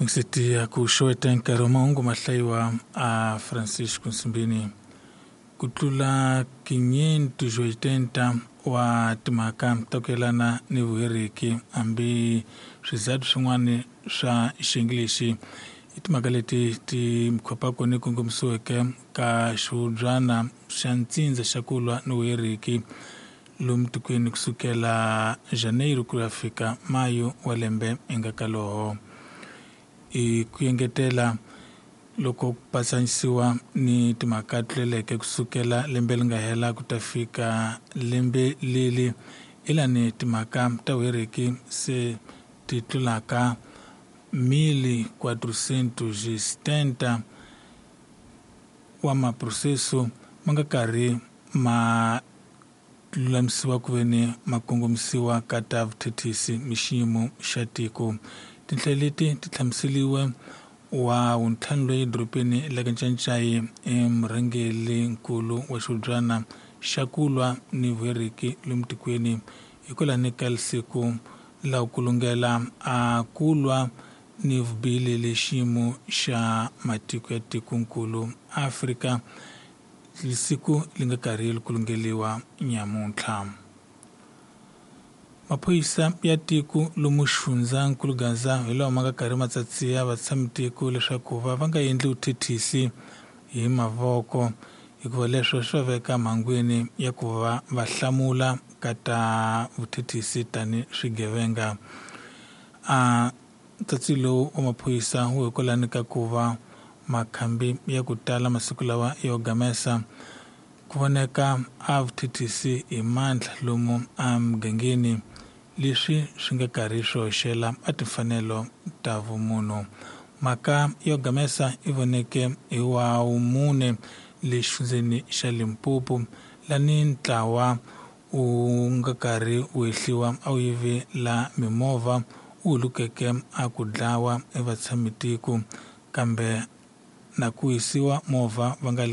Mikiseti ya ku xeweta nkarhi wa mahungu ma hlayiwa a Francisco Nsimbini. Ku tlula 580 wa timhaka ta ku yelana ni vuheriki, hambi swizathu swin'wana swa xiyenge lexi i timhaka leti ti khopaka ni kongomisiweke ka xihubyana xa ntsindza xa ku lwa ni vuheriki lomu tikweni kusukela Janeiro ku ya fika Mayo wa lembe enga ka loho. I ku engetela loko ku patsanisiwa ni timhaka tluleleke kusukela lembe leri nga hela ku ta fika lembe leli ilani timhaka ta vuheriki se ti tlulaka 1470 wa maproseso ma nga karhi ma lulamisiwa ku ve ni ma kongomisiwa ka ta vuthethisi ni xiyimo xa tiko. Tinhlayo leti ti hlamuseriwe wa wuntlhanu loyi edorobeni la ka Ncancai i murhangerinkulu wa xihubyana xa ku lwa ni vuheriki lomu tikweni hikwalani ka siku la ku lungela a ku lwa ni vubihi le xiyimo xa matiko ya tikonkulu Afrika siku li nga karhi ku lungeliwa nyamuntlha. Maphorisa ya tiko lomu xifundzankulu Gaza hi lawa ma nga karhi ma tsatsiya vatshami tiko leswaku va va nga endli vuthethisi hi mavoko hikuva leswo swi va veka mhangwini ya ku va va hlamula ka ta vuthethisi tani swigevenga. A ntsatsi lowu wa maphorisa wu hikwalani ka ku va makhambi ya ku tala masiku lawa yo gamesa ku voneka a vuthethisi hi mandla lomu emugangeni leswi swi nga karhi swi hoxela a timfanelo ta vumunhu. Mhaka yo gamesa i voneke hi wa wumune le xifundzeni xa Limpopo lani ntlawa wu nga karhi wu hehliwa a wu yive la mimovha wu hulukeke a ku dlawa evatshamitiko kambe na ku hisiwa movha va nga le.